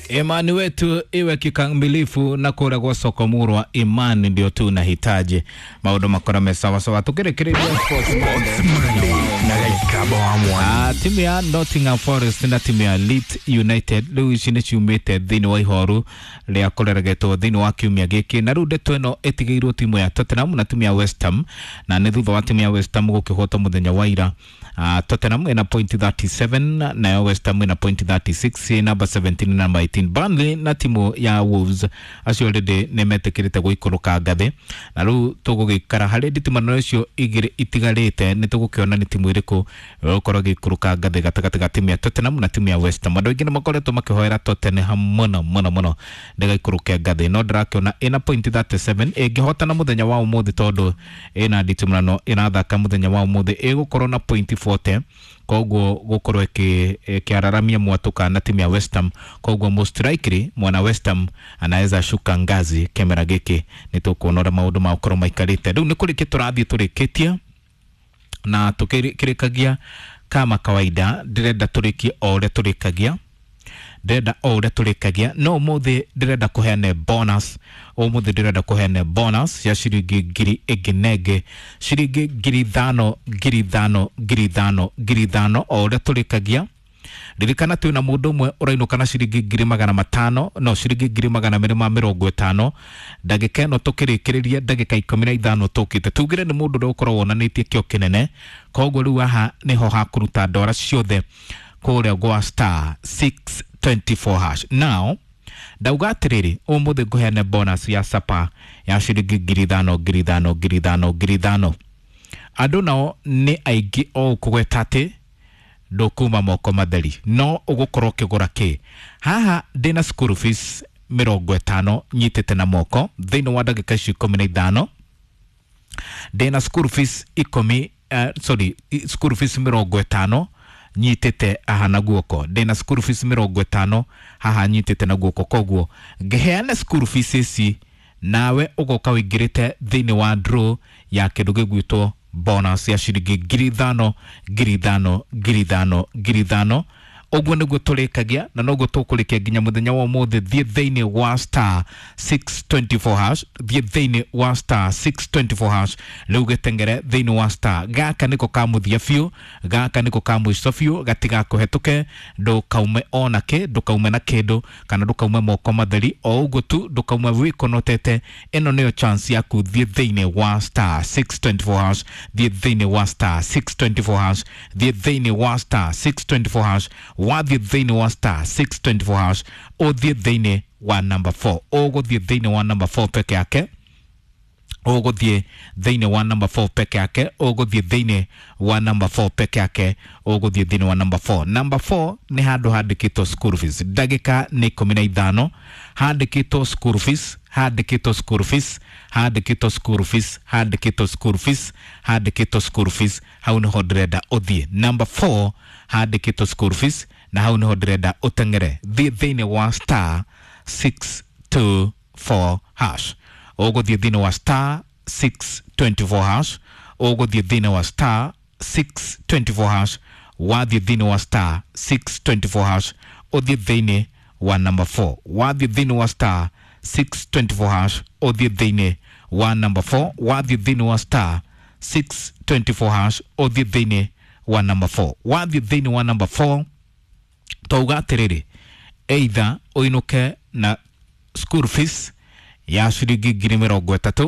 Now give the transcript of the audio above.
Imani wetu iwe kikamilifu na kura gwa soko murwa, imani ndio tunahitaji maundu makora me sawa sawa. Tukirikiria Sports Monday na Gaikaba wa Mwana. Timu ya Nottingham Forest na timu ya Leeds United rĩu ici nĩ ciumĩte thĩinĩ wa ihoru rĩa kũreregetwo thĩinĩ wa kiumia gĩkĩ, na rĩu ndeto ĩno ĩtigĩirwo timu ya Tottenham na timu ya West Ham, na nĩ thutha wa timu ya West Ham gũkĩhotwo mũthenya wa ira. Tottenham ĩna point 37 nayo West Ham ĩna point 36, namba 17 na namba 18. Burnley na timu ya Wolves acio already nĩ metĩkĩrĩte gũikũrũka ngathĩ, na rĩu tũgũgĩikara harĩ nditimano icio igĩrĩ itigarĩte, nĩ tũgũkĩona nĩ timu ĩrĩkũ ĩgũkorwo ĩgĩikũrũka ngathĩ gatagatĩ ga timu ya Tottenham na timu ya West Ham. Andũ aingĩ nĩ makoretwo makĩhoera Tottenham mũno mũno mũno ndĩgaikũrũke ngathĩ, no ndĩrakĩona ĩna point 37 ĩngĩhotana mũthenya wa ũmũthĩ, tondũ ĩna nditimũrano ĩrathaka mũthenya wa ũmũthĩ ĩgũkorwo na point 40, koguo gũkorwo ĩkĩararamia mwatũka na timu ya West Ham. Koguo most likely mwana West Ham anaweza shuka ngazi kĩmera gĩkĩ. Nĩ tũkuona ũrĩa maũndũ magũkorwo maikarĩte. Rĩu nĩ kũrĩkia tũrathiĩ tũrĩkĩtie na tukĩrĩkagia kama kawaida, ndĩrenda tũrĩkie o ũrĩa tũrĩkagia, ndĩrenda o ũrĩa tũrĩkagia, no ũmũthĩ ndĩrenda kũheane bonus. Ũmũthĩ ndĩrenda kũheane bonus ya ciringi ngiri ĩngĩ na ĩngĩ, ciringi 5,000, 5,000, 5,000, 5,000, o ũrĩa tũrĩkagia. Ririkana twĩna mũndũ ũmwe ũrainũka na ciringi 500,000, no ciringi 250,000. Ndagĩka ĩno tũkĩrĩkĩrĩria, ndagĩka 15 tũkĩte, tugire nĩ mũndũ ũrĩa ũkoragwo wonanĩtie kĩo kĩnene, koguo rĩu haha nĩho hakũruta ndora ciothe kũrĩa gwa star 624 hash. Now ndauga atĩrĩrĩ, ũmũthĩ ngũheane bonus ya sapa ya ciringi 5,000, 5,000, 5,000, 5,000. Andũ nao nĩ aingĩ o kũgweta atĩ ndũkuma moko matheri, no ũgũkorwo ũkĩgũra kĩ haha. Ndĩna school fees 50 nyitĩte na moko thĩinĩ wa ndagĩka ici 15. Ndĩna school fees ikũmi, sorry, school fees 50 nyitĩte haha na guoko. Ndĩna school fees 50 haha nyitĩte na guoko, koguo ngĩheana school fees ici nawe ũgoka ũingĩrĩte thĩinĩ wa draw ya kĩndũ gĩgwĩtwo bonus ya ciringi 5,000, 5,000, 5,000, 5,000. Ũguo nĩguo tũrĩkagia na noguo tũkũrĩkia nginya mũthenya wa ũmũthĩ. Thiĩ thĩinĩ wa star 624 hash, thiĩ thĩinĩ wa star 624 hash rĩu, gĩtengere thĩinĩ wa star. Gaka nĩko ka mũthia biũ, gaka nĩko ka mũico biũ, gatigakũhetũke, ndũkaume ona kĩ, ndũkaume na kĩndũ kana ndũkaume moko matheri, o ũguo tu ndũkaume wĩkonotete. Ĩno nĩyo chance yaku. Thiĩ thĩinĩ wa star 624 hash, thiĩ thĩinĩ wa star 624 hash, thiĩ thĩinĩ wa star 624 hash. Wathiĩ thĩinĩ wa star 624 hash, ũthiĩ thĩinĩ wa number 4, ũgũthiĩ thĩinĩ wa number 4 peke yake, ũgũthiĩ thĩinĩ wa number 4 peke yake, ũgũthiĩ thĩinĩ wa number 4 peke yake, ũgũthiĩ thĩinĩ wa number 4. Number 4 nĩ handũ handĩkĩtwo school fees. Ndagĩka nĩ 15. Handĩkĩtwo school fees, handĩkĩtwo school fees, handĩkĩtwo school fees, handĩkĩtwo school fees, handĩkĩtwo school fees. Hau nĩho ndĩrenda ũthiĩ, number 4 handĩkĩtwo school fees, na hau nĩho ndĩrenda ũteng'ere. Thiĩ thĩinĩ wa star 624 hash, ũgũthiĩ thĩinĩ wa star 624 hash, ũgũthiĩ thĩinĩ wa star 624 hash. Wathiĩ thĩinĩ wa star 624 hash, ũthiĩ thĩinĩ wa number 4. Wathiĩ thĩinĩ wa star 624 hash, ũthiĩ thĩinĩ wa number 4. Wathiĩ thĩinĩ wa star 624 hash, ũthiĩ thĩinĩ wa number 4. Wathiĩ thĩinĩ wa number 4, twauga atĩrĩrĩ, either ũinũke na school fees ya ciringi 30,000.